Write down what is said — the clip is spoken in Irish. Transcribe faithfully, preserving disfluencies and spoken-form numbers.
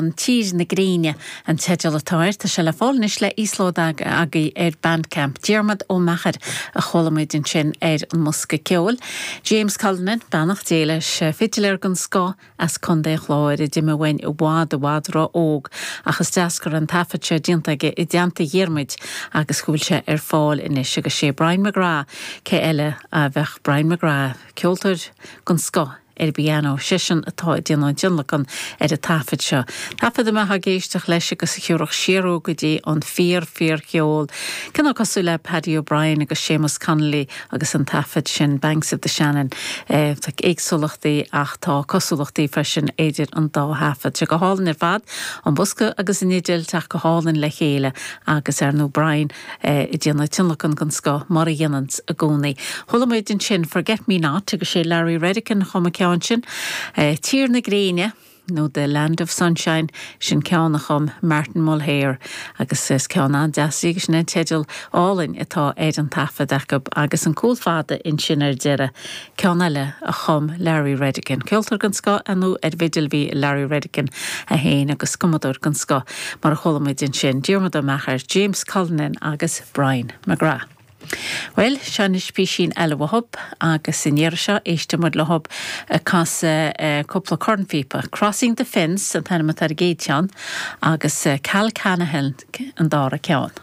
ceann Tír na Gréine an teideal atá air tá sé le fáil anois le íoslódáil agaibh ar Bandcamp. Diarmuid Ó Meachair a chuala muid ansin ar an mbosca ceoil. James Cullinan beannacht Dé leis fidiléir den scoth as Contae an Chláir a d'imigh uainn i bhfad i bhfad ró-óg ach is deas go raibh an taifead seo déanta aige i dteannta Dhiarmuid agus go bhfuil sé ar fáil anois agus sé Brian McGrath cé eile a bheadh Brian McGrath ceoltóir den scoth ar an bpianó seisean atá ag déanamh an tionlacan ar an taifead seo. Taifead a mbeifeá ag éisteacht leis agus a thiúrfadh siar go dtí an fíor fíor cheol. Cineál cosúil le Paddy O'Brien agus Seamus Connolly agus an taifead sin Banks of the Shannon eh, Tá éagsúlachtaí ach tá cosúlachtaí freisin idir an dá thaifead. Sé go hálainn ar fad an bosca agus an fhidil teacht go hálainn le chéile agus ar ndóigh Brian eh, ag déanamh tionlacan den scoth mar a dhéanann i gcónaí. Chuala muid ansin Forget Me Not agus sé Larry Redican chum an ceann sin eh, Tír na Gréine nó The Land of Sunshine sin ceann a chum Martin Mulhare agus is ceann an-deas agus sin an teideal álainn atá ar an taifead acu agus an cúl fada ansin ar deireadh ceann eile a chum Larry Redican. Ceoltóir den scoth anú ar bhfidil bhí Larry Redican a haon agus cumadóir den scoth mar a chuala muid ansin Diarmuid Ó Meachair, James Cullinan agus Brian McGrath. Well seo anois píosín eile uathub agus an iarraidh seo éistfidh muid leo ag casadh cúpla cornphíopa. Crossing the Fence an t-ainm atá ar an gcéad cheann agus Cal Canahan an dara ceann.